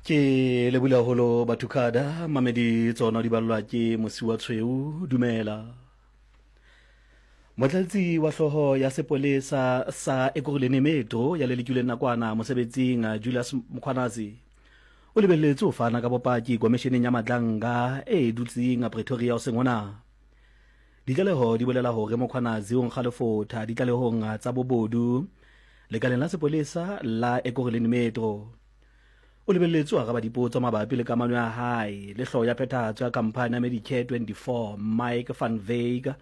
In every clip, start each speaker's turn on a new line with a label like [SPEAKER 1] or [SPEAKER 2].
[SPEAKER 1] Ke lebule haholo Bathukhada, mamedi tsona di ballwa ke Mosiwa Tshweu. Dumela. Motlatsi wa hloho ya sepolesa sa Ekurhuleni Metro ya lelekilweng nakwana mosebetsing Julius Mkhwanazi o lebelletswe ho fana ka bopaki komisheneng ya Madlanga e dutseng Pretoria hoseng hona. Ditlaleho di bolela hore Mkhwanazi o nkga lefotha ditlalehong tsa bobodu lekaleng la sepolesa la Ekurhuleni Metro. O lebelletswe ho araba dipotso mabapi le kamano ya hae le hlooho ya phethahatso ya khamphani ya Medicare 24 Mike van Wyk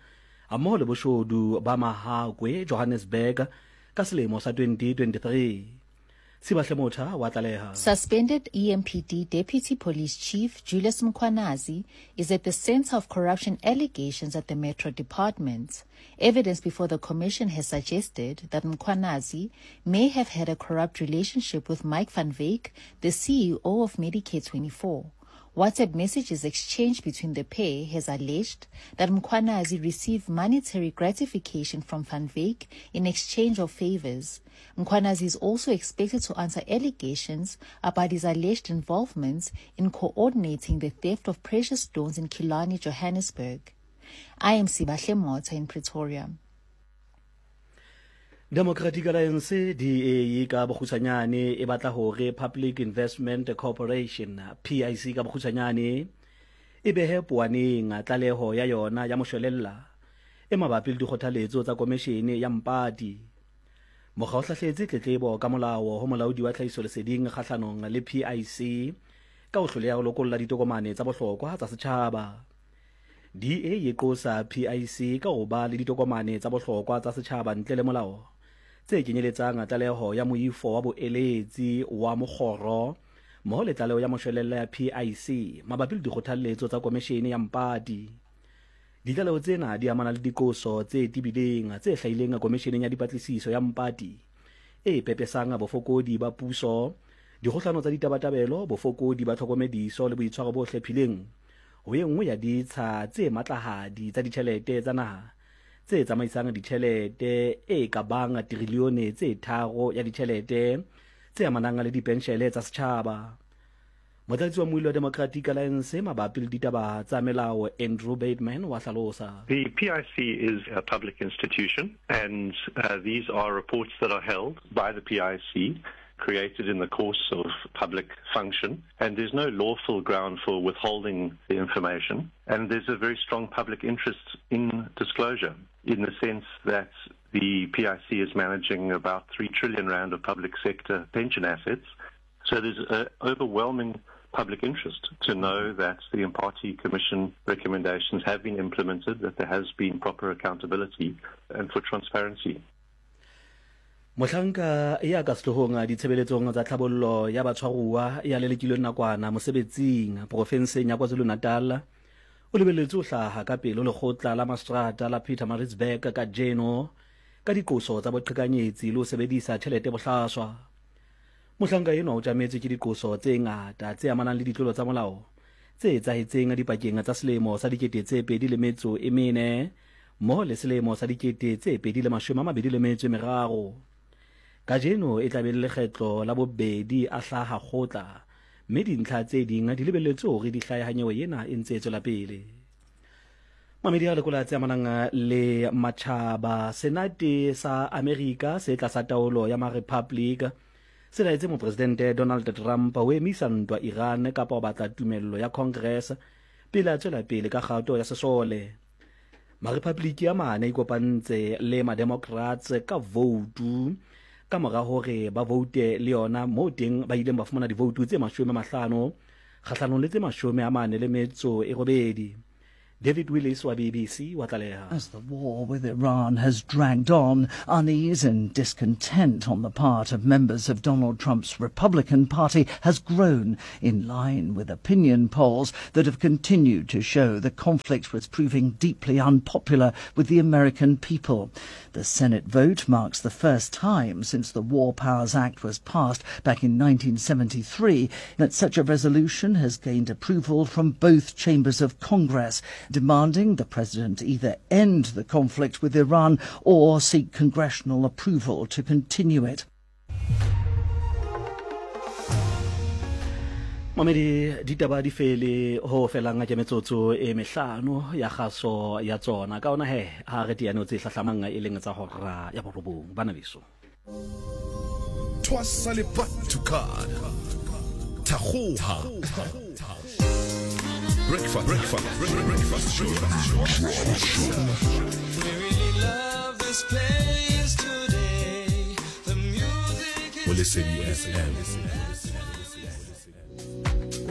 [SPEAKER 1] hammoho le boshodu ba Mahakwe, Johannesburg ka selemo sa 2023. Sibahle Motha wa tlaleha.
[SPEAKER 2] Suspended EMPD Deputy Police Chief Julius Mkhwanazi is at the center of corruption allegations at the Metro Department. Evidence before the commission has suggested that Mkhwanazi may have had a corrupt relationship with Mike van Wyk, the CEO of Medicare 24. WhatsApp messages exchanged between the pair has alleged that Mkhwanazi received monetary gratification from Van Wyk in exchange of favors. Mkhwanazi is also expected to answer allegations about his alleged involvement in coordinating the theft of precious stones in Killarney, Johannesburg. I am Sibahle Motha in Pretoria.
[SPEAKER 1] Democratic Alliance DA ka bokgutshwanyane e batla hore Public Investment Corporation PIC ka bokgutshwanyane e behe poaneng tlaleho ya yona ya moshwelella e mabapi le dikgothaletso tsa komeshene ya Mpati. Mokga o hlahletse tletlebo ka molao ho molaodi wa tlhahisoleseding kgahlanong le PIC ka ho hloleha ho lokolla ditokomane tsa bohlokwa tsa setjhaba. DA e qosa PIC ka ho ba le ditokomane tsa bohlokwa tsa setjhaba ntle le molao, tse kenyeletsang tlaleho ya moifo wa boeletsi wa mokgoro mmoho le tlaleho ya moshwelella ya PIC mabapi le dikgothalletso tsa Komeshene ya Mpati. Ditlaleho tsena di amana le diqoso tse tebileng tse hlahileng Komesheneng ya Dipatlisiso ya Mpati e pepesang bofokodi ba puso, dikgohlano tsa ditabatabelo, bofokodi ba tlhokomediso le boitshwaro bo hlephileng ho e nngwe ya ditsha tse matlahadi tsa ditjhelete tsa naha tse tsamaisang ditjhelete e ka bang trilione tse tharo ya ditjhelete tse amanang le dipenshele tsa setjhaba. Motlatsi wa mmuelli wa Democratic Alliance mabapi le ditaba tsa melao Andrew Bateman wa hlalosa.
[SPEAKER 3] The PIC is a public institution and uh, these are reports that are held by the PIC created in the course of public function, and there's no lawful ground for withholding the information. And there's a very strong public interest in disclosure, in the sense that the PIC is managing about 3 trillion rand of public sector pension assets. So there's an overwhelming public interest to know that the Mpati Commission recommendations have been implemented, that there has been proper accountability, and for transparency.
[SPEAKER 1] Mohlanka ya ka sehloohong ditshebeletsong tsa tlhabollo ya batshwaruwa ya lelekilweng nakwana mosebetsing porofenseng ya KwaZulu-Natal o lebelletswe ho hlaha ka pele ho lekgotla la mastrata la Pietermaritzburg kajeno ka diqoso tsa boqhekanyetsi le ho sebedisa tjhelete bohlaswa. Mohlanka enwa o tjametswe ke diqoso tse ngata tse amanang le ditlolo tsa molao tse etsahetseng dipakeng tsa selemo sa 2004 mmoho le selemo sa 2023. Kajeno e tla be le lekgetlo la bobedi a hlaha kgotla mme dintlha tse ding di lebelletswe hore di hlahe ha nyewe ena e ntse e tswela pele. Mamedi a lekola tse amanang le matjhaba. Senate sa Amerika se tlasa taolo ya ma-Republic se laetse Mopresidente Donald Trump ho emisa ntwa Iran kapa ho batla tumello ya Congress pele a tswela pele ka kgato ya sesole. Marephabliki a mane a ikopantse le Mademocrats ka voutu ka mora hore ba voute le yona moo teng ba ileng ba fumana divoutu tse 50 kgahlanong le tse 48. David Willis wa BBC wa tlaleha.
[SPEAKER 4] As the war with Iran has dragged on, unease and discontent on the part of members of Donald Trump's Republican Party has grown in line with opinion polls that have continued to show the conflict was proving deeply unpopular with the American people. The Senate vote marks the first time since the War Powers Act was passed back in 1973 that such a resolution has gained approval from both chambers of Congress, demanding the president either end the conflict with Iran or seek congressional approval to continue it.
[SPEAKER 1] Mamedi, ditaba di fele ho felang ke metsotso e mehlano ya kgaso ya tsona. Ka ona he, ha re teane tse hlahlamang e leng tsa hora ya borobong. Bana beso.
[SPEAKER 5] Thwasa le Patukan. Thakgoha. Breakfast, breakfast, breakfast show. Ho Lesedi FM.